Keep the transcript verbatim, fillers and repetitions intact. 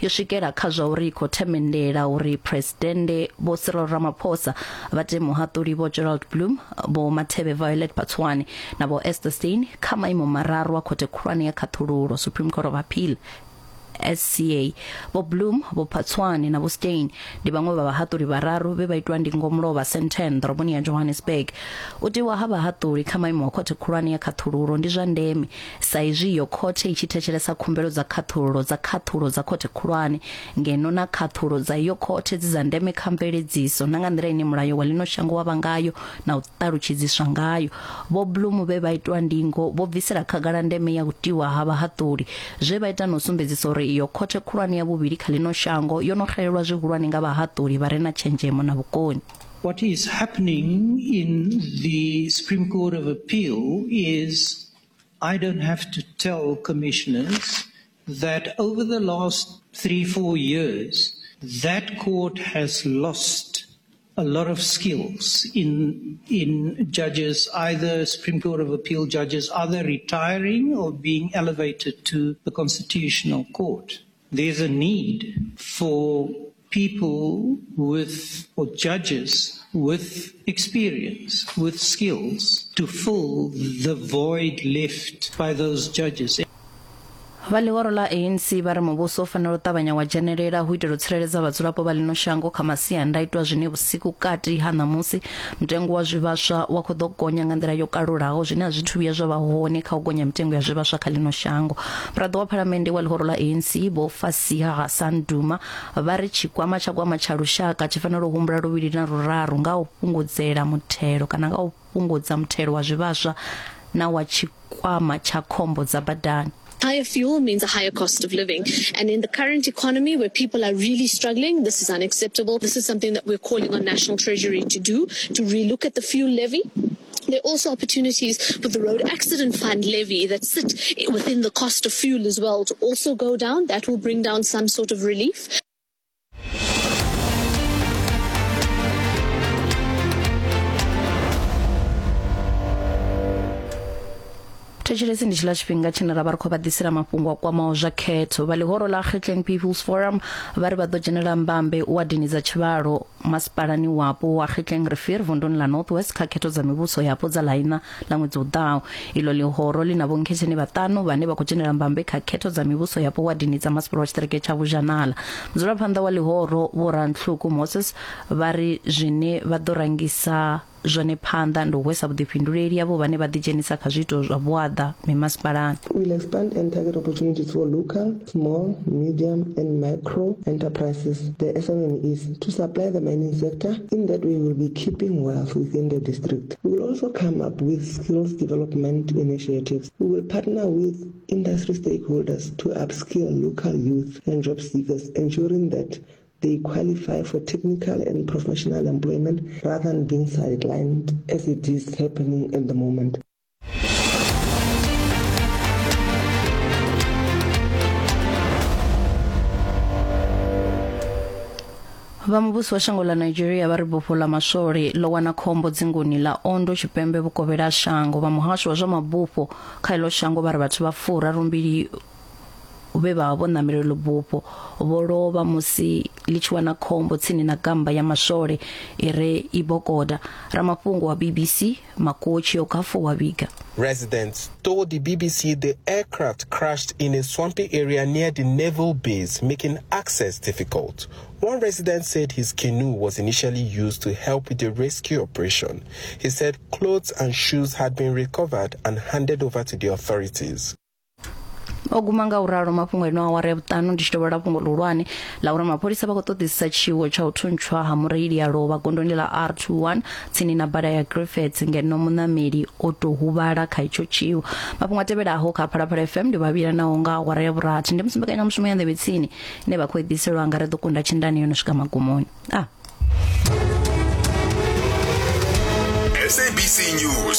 yo swikela kha zwa uri khou themendela uri Presidennde Vho Cyril Ramaphosa vha te muhaṱuli Vho Gerald Bloom, Vho Mathebe Violet Phatswane na Vho Esther Steyn kha maimo mararu a khothe khulwane ya khaṱhululo Supreme Court of Appeal S C A. Vho Bloom, Vho Phatswane na Vho Steyn ndi vhaṅwe vha vhahaṱuli vhararu vhe vha itwa ndingo mulovha Sandton ḓoroboni ya Johannesburg. U tiwa ha vhahaṱuli kha maimo a khothe khulwane ya khaṱhululo ndi zwa ndeme sa izwi iyo khothe i tshi thetshelesa khumbelo dza khaṱhululo dza khaṱhulo dza khothe khulwane, ngeno na khaṱhulo dza iyo khothe dzi dza ndeme kha mveledziso na nga nḓila ine mulayo wa ḽino shango wa vha ngayo na u ṱalutshedziswa ngayo. Vho Bloom vhe vha itwa ndingo vho bvisela khagala ndeme ya u tiwa ha vhahaṱuli, zwe vha ita na u sumbedzisa uri iyo khothe khulwane ya vhuvhili kha ḽino shango yo no xelelwa zwihulwane nga vhahaṱuli vha re na tshenzhemo na vhukoni. What is happening in the Supreme Court of Appeal is I don't have to tell commissioners that over the last three, four years, that court has lost a lot of skills in in judges, either Supreme Court of Appeal judges, either retiring or being elevated to the Constitutional Court. There's a need for people with, or judges with experience, with skills, to fill the void left by those judges. Vha ḽihoro ḽa A N C vha ri muvhuso u fanela u ṱavhanya wa dzhenelela hu itela u tsireledza vhadzulapo vha ḽino shango kha masiandaitwa zwine vhusiku kati ha ṋamusi mutengo wa zwivhaswa wa khou ḓo gonya nga nḓila yo kalulaho, zwine a zwi thu vhuya zwa vha hone kha u gonya mitengo ya zwivhaswa kha ḽino shango. Muraḓo wa phalamennde wa ḽihoro ḽa A N C Vho Fasiha Hassan Duma vha ri tshikwama tsha gwama tsha lushaka tshi fanela u humbula luvhili na luraru nga u fhungudzela muthelo kana nga u fhungudza muthelo wa zwivhaswa na wa tshikwama tsha khombo dza badani. Higher fuel means a higher cost of living. And in the current economy where people are really struggling, this is unacceptable. This is something that we're calling on National Treasury to do, to relook at the fuel levy. There are also opportunities with the Road Accident Fund levy that sit within the cost of fuel as well to also go down. That will bring down some sort of relief. Thetshelesi ndi tshiḽa tshifhinga tshine ra vha ri khou vha ḓisela mafhungo a kwamaho zwa khetho. Vha ḽihoro ḽa Kgetleng People's Forum vha ri vha ḓo dzhenela mbambe u wadini dza tshivhalo masipalani wapo wa Kgetleng Rivier vunduni ḽa North West kha khetho dza mivhuso yapo dza ḽaina ḽa ṅwedzi u ḓaho. Iḽo ḽihoro ḽi na vhonkhetheni vhaṱanu vhane vha khou dzhenela mbambe kha khetho dza mivhuso yapo wadini dza masipala wa tshiṱiriki tsha Vhuzhanala. Mudzulaphanḓa wa ḽihoro Vho Rantlhuku Moses vha ri zwine vha ḓo rangisa zwone phanḓa ndi u hwesa vhuḓifhinduleli avho vhane vha ḓidzhenisa kha zwiito zwa vhuaḓa mimasipalani. We'll expand and target opportunities for local, small, medium and micro enterprises, the S M Es, to supply the mining sector, in that we will be keeping wealth within the district. We will also come up with skills development initiatives. We will partner with industry stakeholders to upskill local youth and job seekers, ensuring that they qualify for technical and professional employment rather than being sidelined as it is happening at the moment. Vha muvhuso wa shango ḽa Nigeria vha ri bufho ḽa maswole ḽo wana khombo dzinguni ḽa Ondo tshipembe vhukovhela shango. Vha muhasho wa zwa mabufho kha iḽo shango vha ri vhathu vha furarumbili vhe vha vho ṋamela iḽo bufho vho lovha musi ḽi tshi wana khombo tsini na gamba ya maswole i re Ibokoda. Ramafhungo wa B B C Makochi Okafor wa vhiga. Residents told the B B C the aircraft crashed in a swampy area near the naval base, making access difficult. One resident said his canoe was initially used to help with the rescue operation. He said clothes and shoes had been recovered and handed over to the authorities. O guma nga uralo mafhungo ino awara ya vhuṱanu ndi tshi tovhola fhungo ḽihulwane ḽa uri mapholisa vha khou ṱoḓisisa tshiwo tsha u thuntshwa ha mureili a lovha gondoni ḽa R twenty-one tsini na bada ya Griffiths, ngeno muṋameli o tou huvhala kha itsho tshiwo. Mafhungo a tevhelaho kha Phalaphala F M ndi vhavhila naho nga awara ya vhurathi. Ndi musi mbekanyamushumo ya nḓevhe tsini ine vha khou i ḓiselwa nga ri ḓo kunda tshindani yo no swika magumoni. Ah. S A B C News.